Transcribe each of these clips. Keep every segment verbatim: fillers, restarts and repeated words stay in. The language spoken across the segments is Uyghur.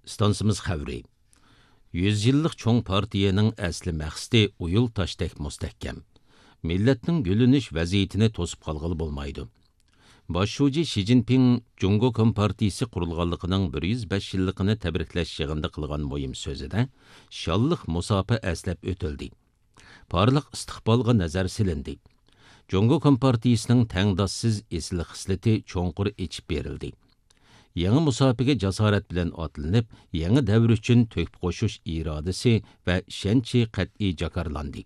ئىستانسىمىز خەۋىرى. يۈز يىللىق چوڭ پارتىيەنىڭ ئەسلى مەقسىتى ئۇيۇل تاشتەك مۇستەھكەم. مىللەتنىڭ گۈللىنىش ۋەزىيىتىنى توسۇپ قالغىلى بولمايدۇ. باش شۇجى شى جىنپىڭ جۇڭگو كومپارتىيىسى قۇرۇلغانلىقىنىڭ بىر يۈز بەش يىللىقىنى تەبرىكلەش يىغىنىدا قىلغان مۇھىم سۆزىدە شانلىق مۇساپە ئەسلەپ ئۆتۈلدى. پارلاق ئىستىقبالغا نەزەر سېلىندى. جۇڭگو كومپارتىيىسىنىڭ تەڭداشسىز ئېسىل خىسلىتى چوڭقۇر ئېچىپ بېرىلدى. يېڭى مۇساپىگە جاسارەت بىلەن ئاتلىنىپ، يېڭى دەۋر ئۈچۈن تۆھپە قوشۇش ئىرادىسى ۋە ئىشەنچى قەتئىي جاكارلاندى.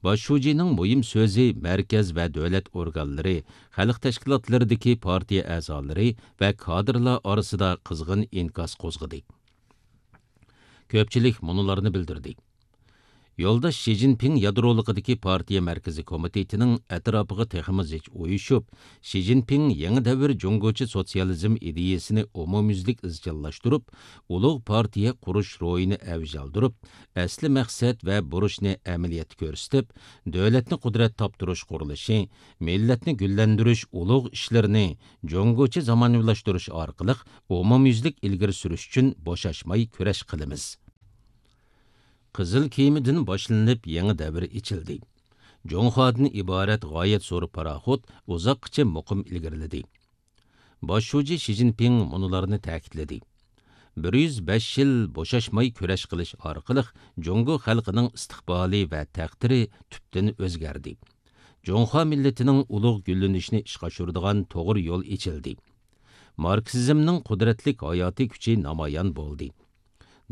باش شۇجىنىڭ مۇھىم سۆزى مەركەز ۋە دۆلەت ئورگانلىرى، خەلق تەشكىلاتلىرىدىكى پارتىيە ئەزالىرى ۋە كادىرلار ئارىسىدا قىزغىن ئىنكاس قوزغىدى. كۆپچىلىك مۇنۇلارنى بىلدۈردى. يولداش شى جىنپىڭ يادرولۇقىدىكى پارتىيە مەركىزىي كومىتېتىنىڭ ئەتراپىغا تېخىمۇ زىچ ئۇيۇشۇپ، شى جىنپىڭ يېڭى دەۋر جۇڭگوچە سوتسىيالىزم ئىدىيىسىنى ئومۇميۈزلۈك ئىزچىللاشتۇرۇپ، ئۇلۇغ پارتىيە قۇرۇش روھىنى ئەۋج ئالدۇرۇپ، ئەسلى مەقسەت ۋە بۇرچنى ئەمەلىيەتتە كۆرسىتىپ، دۆلەتنى قۇدرەت تاپتۇرۇش قۇرۇلۇشى، مىللەتنى گۈللەندۈرۈش ئۇلۇغ ئىشلىرىنى جۇڭگوچە زامانىۋىلاشتۇرۇش ئارقىلىق ئومۇميۈزلۈك ئىلگىرى سۈرۈش ئۈچۈن بوشاشماي كۈرەش قىلىمىز. قىزىل كېمىدىن باشلىنىپ يېڭى دەۋر ئېچىلدى. جۇڭخۇادىن ئىبارەت غايەت زور پاراخوت ئۇزاققىچە مۇقىم ئىلگىرىلىدى. باش شۇجى شى جىنپىڭ مۇنۇلارنى تەكىتلىدى: بىر يۈز بەش يىل بوشاشماي كۈرەش قىلىش ئارقىلىق جۇڭگو خەلقىنىڭ ئىستىقبالى ۋە تەقدىرى تۈپتىن ئۆزگەردى. جۇڭخۇا مىللىتىنىڭ ئۇلۇغ گۈللىنىشىنى ئىشقا ئاشۇرىدىغان توغرا يول ئېچىلدى. ماركسىزمنىڭ قۇدرەتلىك ھاياتىي كۈچى نامايان بولدى.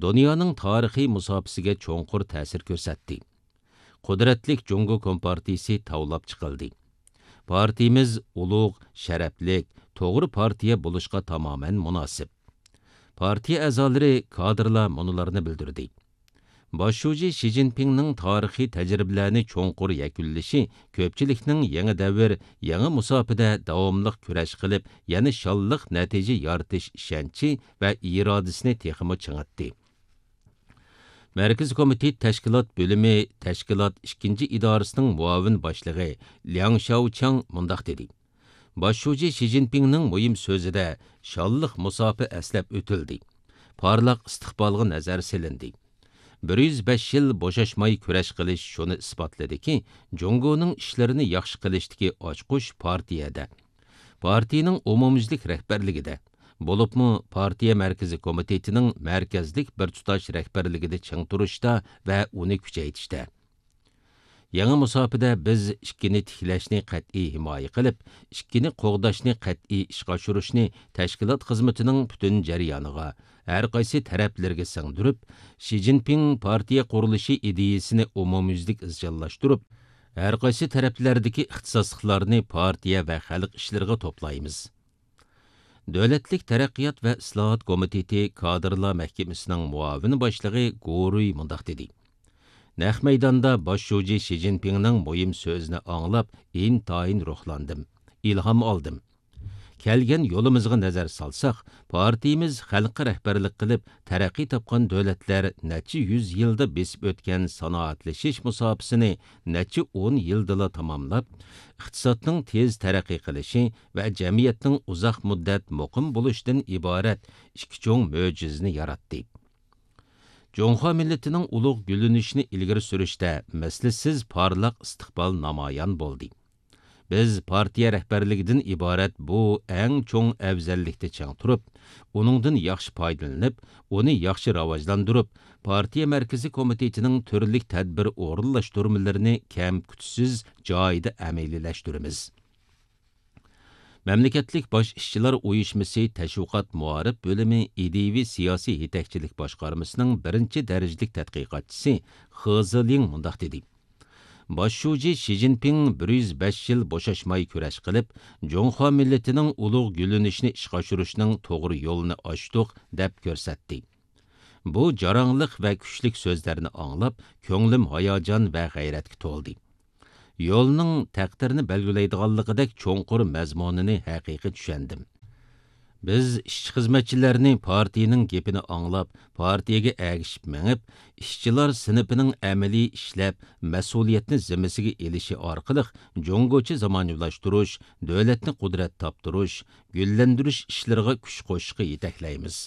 دۇنيانىڭ تارىخىي مۇساپىسىگە چوڭقۇر تەسىر كۆرسەتتى. قۇدرەتلىك جۇڭگو كومپارتىيىسى تاۋلاپ چىقىلدى. پارتىيىمىز ئۇلۇغ، شەرەپلىك، توغرا پارتىيە بولۇشقا تامامەن مۇناسىپ. پارتىيە ئەزالىرى، كادىرلار مۇنۇلارنى بىلدۈردى: باش شۇجى شى جىنپىڭنىڭ تارىخىي تەجرىبىلەرنى چوڭقۇر يەكۈنلىشى كۆپچىلىكنىڭ يېڭى دەۋر، يېڭى مۇساپىدە داۋاملىق كۈرەش قىلىپ، يەنە شانلىق نەتىجە يارىتىش ئىشەنچى ۋە ئىرادىسىنى تېخىمۇ چىڭىتتى. مەركىزىي كومىتېت تەشكىلات بۆلۈمى تەشكىلات ئىككىنچى ئىدارىسىنىڭ مۇئاۋىن باشلىقى لياڭ شياۋچياڭ مۇنداق دېدى: باش شۇجى شى جىنپىڭنىڭ مۇھىم سۆزىدە شانلىق مۇساپە ئەسلەپ ئۆتۈلدى. پارلاق ئىستىقبالغا نەزەر سېلىندى. بىر يۈز بەش يىل بوشاشماي كۈرەش قىلىش شۇنى ئىسپاتلىدىكى، جۇڭگونىڭ ئىشلىرىنى ياخشى قىلىشتىكى ئاچقۇچ پارتىيەدە، پارتىيىنىڭ ئومۇميۈزلۈك رەھبەرلىكىدە، بولۇپمۇ پارتىيە مەركىزىي كومىتېتىنىڭ مەركەزلىك بىر تۇتاش رەھبەرلىكىدە چىڭ تۇرۇشتا ۋە ئۇنى كۈچەيتىشتە. يېڭى مۇساپىدە بىز ئىككىنى تىكلەشنى قەتئىي ھىمايە قىلىپ، ئىككىنى قوغداشنى قەتئىي ئىشقا ئاشۇرۇشنى تەشكىلات خىزمىتىنىڭ پۈتۈن جەريانىغا، ھەر قايسى تەرەپلىرىگە سىڭدۈرۈپ، شى جىنپىڭ پارتىيە قۇرۇلۇشى ئىدىيىسىنى ئومۇميۈزلۈك ئىزچىللاشتۇرۇپ، ھەر قايسى تەرەپلەردىكى ئىختىساسلىقلارنى پارتىيە ۋە خەلق ئىشلىرىغا توپلايمىز. دۆلەتلىك تەرەققىيات ۋە ئىسلاھات كومىتېتى كادىرلار مەھكىمىسىنىڭ مۇئاۋىن باشلىقى گورۇي مۇنداق دېدى: نەق مەيداندا باش شۇجى شى جىنپىڭنىڭ مۇھىم سۆزىنى ئاڭلاپ، ئىنتايىن روھلاندىم، ئىلھام ئالدىم. كەلگەن يولىمىزغا نەزەر سالساق، پارتىيىمىز خەلققە رەھبەرلىك قىلىپ، تەرەققىي تاپقان دۆلەتلەر نەچچە يۈز يىلدا بېسىپ ئۆتكەن سانائەتلىشىش مۇساپىسىنى نەچچە ئون يىلدىلا تاماملاپ، ئىقتىسادنىڭ تېز تەرەققىي قىلىشى ۋە جەمئىيەتنىڭ ئۇزاق مۇددەت مۇقىم بولۇشىدىن ئىبارەت ئىككى چوڭ مۆجىزىنى ياراتتى. جۇڭخۇا مىللىتىنىڭ ئۇلۇغ گۈللىنىشىنى ئىلگىرى سۈرۈشتە مىسلىسىز پارلاق ئىستىقبال نامايان بولدى. بىز پارتىيە رەھبەرلىكىدىن ئىبارەت بۇ ئەڭ چوڭ ئەۋزەللىكتە چىڭ تۇرۇپ، ئۇنىڭدىن ياخشى پايدىلىنىپ، ئۇنى ياخشى راۋاجلاندۇرۇپ، پارتىيە مەركىزىي كومىتېتىنىڭ تۈرلۈك تەدبىر ئورۇنلاشتۇرمىلىرىنى كەم-كۈتسىز جايىدا ئەمەلىيلەشتۈرىمىز. مەملىكەتلىك باش ئىشچىلار ئۇيۇشمىسى تەشۋىقات مائارىپ بۆلۈمى ئىدىيىۋى سىياسىي يېتەكچىلىك باشقارمىسىنىڭ بىرىنچى دەرىجىلىك تەتقىقاتچىسى خې زېلىڭ مۇنداق دېدى: باش شۇجى شى جىنپىڭ بىر يۈز بەش يىل بوشاشماي كۈرەش قىلىپ، جۇڭخۇا مىللىتىنىڭ ئۇلۇغ گۈللىنىشىنى ئىشقا ئاشۇرۇشنىڭ توغرا يولىنى ئاچتۇق، دەپ كۆرسەتتى. بۇ جاراڭلىق ۋە كۈچلۈك سۆزلەرنى ئاڭلاپ، كۆڭلۈم ھاياجان ۋە غەيرەتكە تولدى. يولنىڭ تەقدىرنى بەلگىلەيدىغانلىقىدەك چوڭقۇر مەزمۇنىنى ھەقىقىي چۈشەندىم. بىز ئىشچى-خىزمەتچىلەرنى پارتىيىنىڭ گېپىنى ئاڭلاپ، پارتىيىگە ئەگىشىپ مېڭىپ، ئىشچىلار سىنىپىنىڭ ئەمەلىي ئىشلەپ، مەسئۇلىيەتنى زىممىسىگە ئېلىشى ئارقىلىق جۇڭگوچە زامانىۋىلاشتۇرۇش، دۆلەتنى قۇدرەت تاپتۇرۇش، گۈللەندۈرۈش ئىشلىرىغا كۈچ قوشۇشقا يېتەكلەيمىز.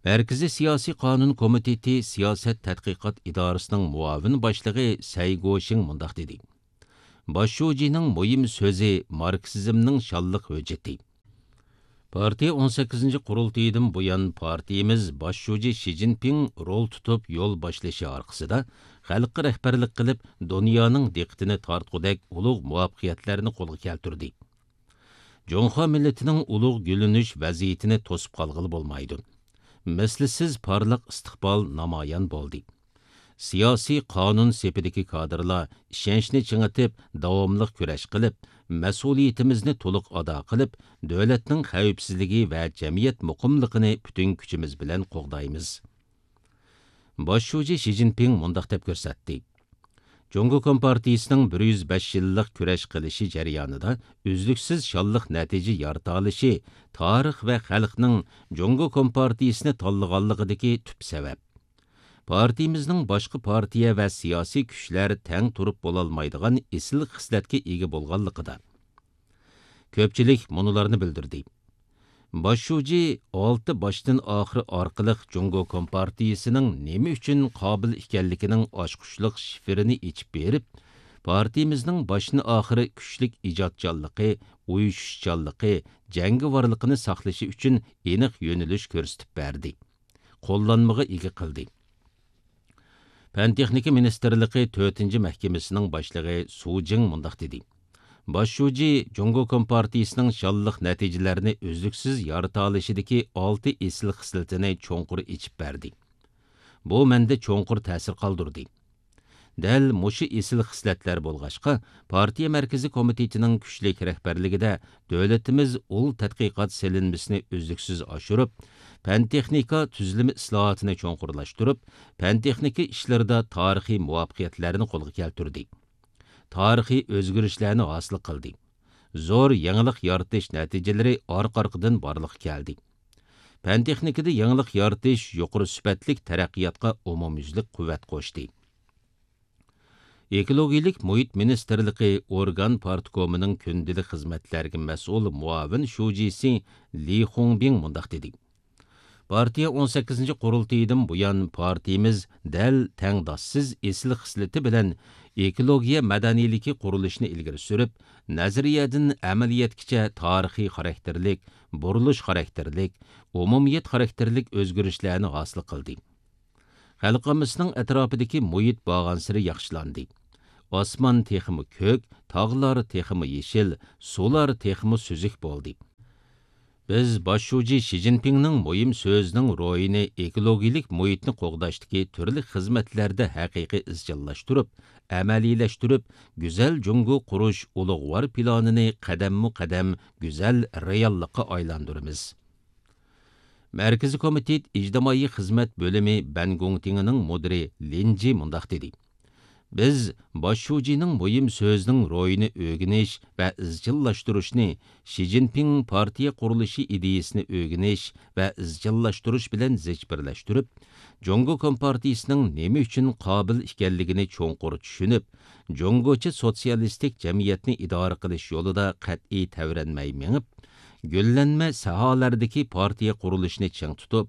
مەركىزىي سىياسىي قانۇن كومىتېتى سىياسەت تەتقىقات ئىدارىسىنىڭ مۇئاۋىن باشلىقى سەي گوشىڭ مۇنداق دېدى: باش شۇجىنىڭ مۇھىم سۆزى ماركسىزمنىڭ شانلىق ھۆججىتى. پارتىيە ئون سەككىزىنچى قۇرۇلتىيىدىن بۇيان پارتىيىمىز باش شۇجى شى جىنپىڭ رول تۇتۇپ يول باشلىشى ئارقىسىدا خەلققە رەھبەرلىك قىلىپ، دۇنيانىڭ دىققىتىنى تارتقۇدەك ئۇلۇغ مۇۋەپپەقىيەتلەرنى قولغا كەلتۈردى. جۇڭخۇا مىللىتىنىڭ ئۇلۇغ گۈللىنىش ۋەزىيىتىنى توسۇپ قالغىلى بولمايدۇ. مىسلىسىز پارلاق ئىستىقبال نامايان بولدى. سىياسىي قانۇن سېپىدىكى كادىرلار ئىشەنچنى چىڭىتىپ، داۋاملىق كۈرەش قىلىپ، مەسئۇلىيىتىمىزنى تولۇق ئادا قىلىپ، دۆلەتنىڭ خەۋپسىزلىكى ۋە جەمئىيەت مۇقىملىقىنى پۈتۈن كۈچىمىز بىلەن قوغدايمىز. باش شۇجى شى جىنپىڭ مۇنداق دەپ كۆرسەتتى: جۇڭگو كومپارتىيىسىنىڭ بىر يۈز بەش يىللىق كۈرەش قىلىشى جەريانىدا ئۈزلۈكسىز شانلىق نەتىجە يارىتالىشى تارىخ ۋە خەلقنىڭ جۇڭگو كومپارتىيىسىنى تاللىغانلىقىدىكى تۈپ سەۋەب. پارتىيىمىزنىڭ باشقا پارتىيە ۋە سىياسىي كۈچلەر تەڭ تۇرۇپ بولالمايدىغان ئېسىل خىسلەتكە ئىگە بولغانلىقىدا. كۆپچىلىك مۇنۇلارنى بىلدۈردى. باش شۇجى ئالتە باشتىن ئاخىر ئارقىلىق جۇڭگو كومپارتىيىسىنىڭ نېمە ئۈچۈن قابىل ئىكەنلىكىنىڭ ئاچقۇچلۇق شىفىرىنى ئېچىپ بېرىپ، پارتىيىمىزنىڭ باشتىن ئاخىر كۈچلۈك ئىجادچانلىقى، ئۇيۇشۇشچانلىقى، جەڭگىۋارلىقىنى ساقلىشى ئۈچۈن ئېنىق يۆنىلىش كۆرسىتىپ بەردى. قوللانمىغا ئىگە قىلدى. پەن تېخنىكا مىنىستىرلىقى تۆتىنچى مەھكىمىسىنىڭ باشلىقى سۇ جىڭ مۇنداق دېدى: باش شۇجى جۇڭگو كومپارتىيىسىنىڭ شانلىق نەتىجىلەرنى ئۈزلۈكسىز يارىتالىشىدىكى ئالتە ئېسىل خىسلىتىنى چوڭقۇر ئېچىپ بەردى. بۇ مەندە چوڭقۇر تەسىر قالدۇردى. دەل مۇشۇ ئېسىل خىسلەتلەر بولغاچقا، پارتىيە مەركىزىي كومىتېتىنىڭ كۈچلۈك رەھبەرلىكىدە دۆلىتىمىز ئۇل تەتقىقات سېلىنمىسىنى ئۈزلۈكسىز ئاشۇرۇپ، پەن تېخنىكا تۈزۈلمە ئىسلاھاتىنى چوڭقۇرلاشتۇرۇپ، پەن تېخنىكا ئىشلىرىدا تارىخىي مۇۋەپپەقىيەتلەرنى قولغا كەلتۈردى. تارىخىي ئۆزگىرىشلەرنى ھاسىل قىلدى. زور يېڭىلىق يارىتىش نەتىجىلىرى ئارقا-ئارقىدىن بارلىققا كەلدى. پەن تېخنىكىدا يېڭىلىق يارىتىش يۇقىرى سۈپەتلىك تەرەققىياتقا ئومۇميۈزلۈك قۇۋۋەت قوشتى. ئېكولوگىيىلىك مۇھىت مىنىستىرلىقى ئورگان پارتكومىنىڭ كۈندىلىك خىزمەتلەرگە مەسئۇل مۇئاۋىن شۇجىسى لى خۇڭبىڭ مۇنداق دېدى: پارتىيە ئون سەككىزىنچى قۇرۇلتىيىدىن بۇيان، پارتىيىمىز دەل تەڭداشسىز ئېسىل خىسلىتى بىلەن ئېكولوگىيە مەدەنىيلىكى قۇرۇلۇشىنى ئىلگىرى سۈرۈپ، نەزەرىيەدىن ئەمەلىيەتكىچە تارىخىي خاراكتېرلىك، بۇرۇلۇش خاراكتېرلىك، ئومۇمىيەت خاراكتېرلىك ئۆزگىرىشلەرنى ھاسىل قىلدى. خەلق ئاممىسىنىڭ ئەتراپىدىكى مۇھىت بارغانسېرى ياخشىلاندى. ئاسمان تېخىمۇ كۆك، تاغلار تېخىمۇ يېشىل، سۇلار تېخىمۇ سۈزۈك بولدى. بىز باش شۇجى شى جىنپىڭنىڭ مۇھىم سۆزىنىڭ روھىنى ئېكولوگىيىلىك مۇھىتنى قوغداشتىكى تۈرلۈك خىزمەتلەردە ھەقىقىي ئىزچىللاشتۇرۇپ، ئەمەلىيلەشتۈرۈپ، گۈزەل جۇڭگو قۇرۇش ئۇلۇغۋار پىلانىنى قەدەممۇ قەدەم گۈزەل رېئاللىققا ئايلاندۇرىمىز. مەركىزىي كومىتېت ئىجتىمائىي خىزمەت بۆلۈمى بەنگۇڭتىڭىنىڭ مۇدىرى لىنجى مۇنداق دېدى: بىز باش شۇجىنىڭ مۇھىم سۆزىنىڭ روھىنى ئۆگىنىش ۋە ئىزچىللاشتۇرۇشنى شى جىنپىڭ پارتىيە قۇرۇلۇشى ئىدىيىسىنى ئۆگىنىش ۋە ئىزچىللاشتۇرۇش بىلەن زىچ بىرلەشتۈرۈپ، جۇڭگو كومپارتىيىسىنىڭ نېمە ئۈچۈن قابىل ئىكەنلىكىنى چوڭقۇر چۈشىنىپ، جۇڭگوچە سوتسىيالىستىك جەمئىيەتنى ئىدارە قىلىش يولىدا قەتئىي تەۋرەنمەي مېڭىپ، گۈللەنمە ساھەلەردىكى پارتىيە قۇرۇلۇشىنى چىڭ تۇتۇپ،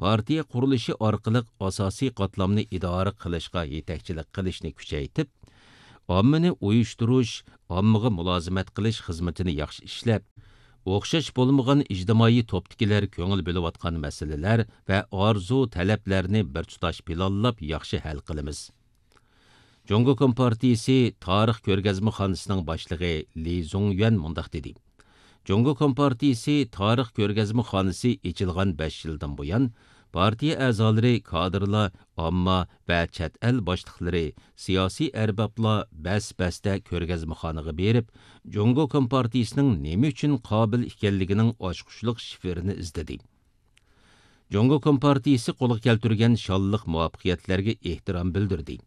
پارتىيە قۇرۇلۇشى ئارقىلىق ئاساسىي قاتلامنى ئىدارە قىلىشقا يېتەكچىلىك قىلىشنى كۈچەيتىپ، ئاممىنى ئۇيۇشتۇرۇش، ئاممىغا مۇلازىمەت قىلىش خىزمىتىنى ياخشى ئىشلەپ، ئوخشاش بولمىغان ئىجتىمائىي توپتىكىلەر كۆڭۈل بۆلۈۋاتقان مەسىلىلەر ۋە ئارزۇ تەلەپلەرنى بىر تۇتاش پىلانلاپ ياخشى ھەل قىلىمىز. جۇڭگو كومپارتىيىسى تارىخ كۆرگەزمىخانىسىنىڭ باشلىقى لى زۇڭيۈەن مۇنداق دېدى: جۇڭگو كومپارتىيىسى تارىخ كۆرگەزمىخانىسى ئېچىلغان بەش يىلدىن بۇيان، پارتىيە ئەزالىرى، كادىرلار، ئامما ۋە چەت ئەل باشلىقلىرى، سىياسىي ئەربابلار بەس-بەستە كۆرگەزمىخانىغا بېرىپ، جۇڭگو كومپارتىيىسىنىڭ نېمە ئۈچۈن قابىل ئىكەنلىكىنىڭ ئاچقۇچلۇق شىفىرىنى ئىزدىدى. جۇڭگو كومپارتىيىسى قولغا كەلتۈرگەن شانلىق مۇۋەپپەقىيەتلەرگە ئېھتىرام بىلدۈردى.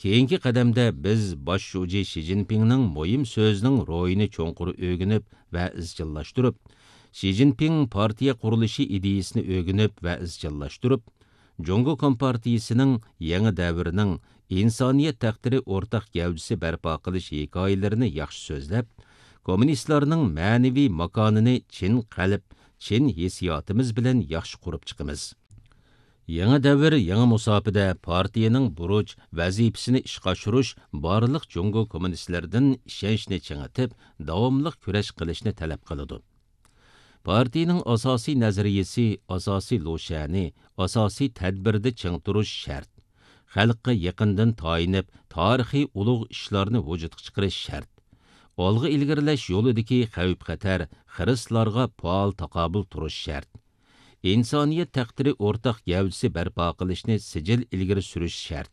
كېيىنكى قەدەمدە بىز باش شۇجى شى جىنپىڭنىڭ مۇھىم سۆزىنىڭ روھىنى چوڭقۇر ئۆگىنىپ ۋە ئىزچىللاشتۇرۇپ، شى جىنپىڭ پارتىيە قۇرۇلۇشى ئىدىيىسىنى ئۆگىنىپ ۋە ئىزچىللاشتۇرۇپ، جۇڭگو كومپارتىيىسىنىڭ يېڭى دەۋرنىڭ ئىنسانىيەت تەقدىرى ئورتاق گەۋدىسى بەرپا قىلىش ھېكايىلىرىنى ياخشى سۆزلەپ، كوممۇنىستلارنىڭ مەنىۋى ماكانىنى چىن قەلب، چىن ھېسسىياتىمىز بىلەن ياخشى قۇرۇپ چىقىمىز. يېڭى دەۋر، يېڭى مۇساپىدە پارتىيەنىڭ بۇرچ، ۋەزىپىسىنى ئىشقا ئاشۇرۇش بارلىق جۇڭگو كوممۇنىستلىرىدىن ئىشەنچنى چىڭىتىپ، داۋاملىق كۈرەش قىلىشنى تەلەپ قىلىدۇ. پارتىيەنىڭ ئاساسىي نەزەرىيىسى، ئاساسىي لۇشيەنى، ئاساسىي تەدبىرىدە چىڭ تۇرۇش شەرت. خەلققە يېقىندىن تايىنىپ، تارىخىي ئۇلۇغ ئىشلارنى ۋۇجۇدقا چىقىرىش شەرت. ئالغا ئىلگىرىلەش يولىدىكى خەۋپ-خەتەر، خىرىسلارغا پائال تاقابىل تۇرۇش شەرت. ئىنسانىيەت تەقدىرى ئورتاق گەۋدىسى بەرپا قىلىشنى سىجىل ئىلگىرى سۈرۈش شەرت.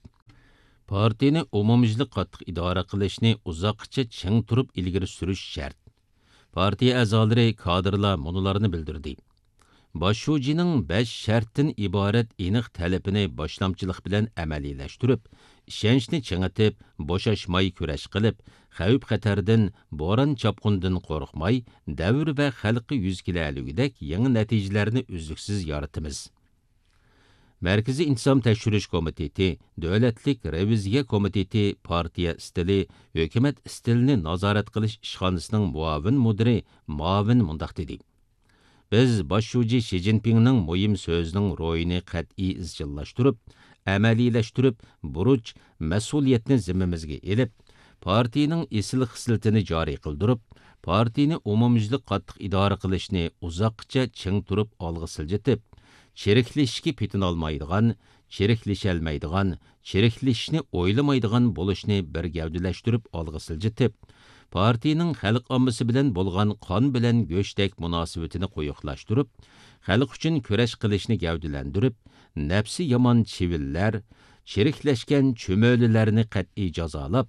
پارتىيىنى ئومۇميۈزلۈك قاتتىق ئىدارە قىلىشنى ئۇزاققىچە چىڭ تۇرۇپ ئىلگىرى سۈرۈش شەرت. پارتىيە ئەزالىرى، كادىرلار مۇنۇلارنى بىلدۈردى. باش شۇجىنىڭ بەش شەرتتىن ئىبارەت ئېنىق تەلىپىنى باشلامچىلىق بىلەن ئەمەلىيلەشتۈرۈپ، ئىشەنچنى چىڭىتىپ، بوشاشماي كۈرەش قىلىپ، خەۋپ-خەتەردىن، بوران-چاپقۇندىن قورقماي، دەۋر ۋە خەلققە يۈز كېلەلىگۈدەك يېڭى نەتىجىلەرنى ئۈزلۈكسىز يارىتىمىز. مەركىزىي ئىنتىزام تەكشۈرۈش كومىتېتى، دۆلەتلىك رېۋىزىيە كومىتېتى پارتىيە ئىستىلى، ھۆكۈمەت ئىستىلىنى نازارەت قىلىش ئىشخانىسىنىڭ مۇئاۋىن مۇدىرى ماۋىن مۇنداق دېدى: بىز باش شۇجى شى جىنپىڭنىڭ مۇھىم سۆزىنىڭ روھىنى قەتئىي ئىزچىللاشتۇرۇپ، ئەمەلىيلەشتۈرۈپ، بۇرچ، مەسئۇلىيەتنى زىممىمىزگە ئېلىپ، پارتىيىنىڭ ئېسىل خىسلىتىنى جارى قىلدۇرۇپ، پارتىيىنى ئومۇميۈزلۈك قاتتىق ئىدارە قىلىشنى ئۇزاققىچە چىڭ تۇرۇپ ئالغا سىلجىتىپ، چىرىكلىشىشكە پېتىنالمايدىغان، چىرىكلىشەلمەيدىغان، چىرىكلىشىشنى ئويلىمايدىغان بولۇشنى بىر گەۋدىلەشتۈرۈپ ئالغا سىلجىتىپ، پارتىيىنىڭ خەلق ئاممىسى بىلەن بولغان قان بىلەن گۆشتەك مۇناسىۋىتىنى قويۇقلاشتۇرۇپ، خەلق ئۈچۈن كۈرەش قىلىشنى گەۋدىلەندۈرۈپ، نەپسى يامان چىۋىنلەر، چىرىكلەشكەن چۈمۈلىلەرنى قەتئىي جازالاپ،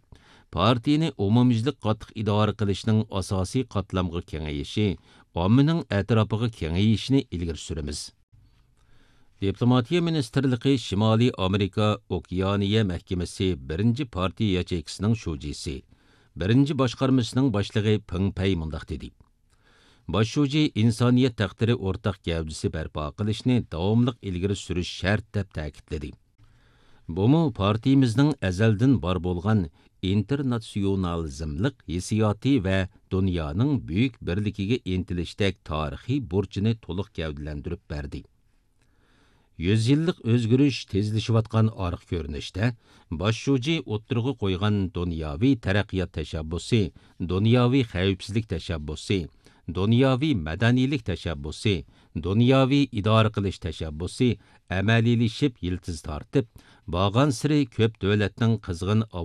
پارتىيىنى ئومۇميۈزلۈك قاتتىق ئىدارە قىلىشنىڭ ئاساسىي قاتلامغا كېڭىيىشى، ئاممىنىڭ ئەتراپىغا كېڭىيىشىنى ئىلگىرى سۈرىمىز. دىپلوماتىيە مىنىستىرلىقى شىمالىي ئامېرىكا ئوكېئانىيە مەھكىمىسى بىرىنچى پارتىيە ياچېيكىسىنىڭ شۇجىسى، بىرىنچى باشقارمىسىنىڭ باشلىقى پېڭ پەي مۇنداق دېدى: باش شۇجى ئىنسانىيەت تەقدىرى ئورتاق گەۋدىسى بەرپا قىلىشنى داۋاملىق ئىلگىرى سۈرۈش شەرت، دەپ تەكىتلىدى. بۇمۇ پارتىيىمىزنىڭ ئەزەلدىن بار بولغان ئىنتېرناتسىيونالىزملىق ھېسسىياتى ۋە دۇنيانىڭ بۈيۈك بىرلىكىگە ئىنتىلىشتەك تارىخىي بۇرچىنى تولۇق گەۋدىلەندۈرۈپ بەردى. يۈز يىللىق ئۆزگىرىش تېزلىشىۋاتقان ئارقا كۆرۈنۈشتە، باش شۇجى ئوتتۇرىغا قويغان دۇنياۋى تەرەققىيات تەشەببۇسى، دۇنياۋى خەۋپسىزلىك تەشەببۇسى، دۇنياۋى مەدەنىيلىك تەشەببۇسى، دۇنياۋى ئىدارە قىلىش تەشەببۇسى ئەمەلىيلىشىپ يىلتىز تارتىپ، بارغانسېرى كۆپ دۆلەتنىڭ قىزغىن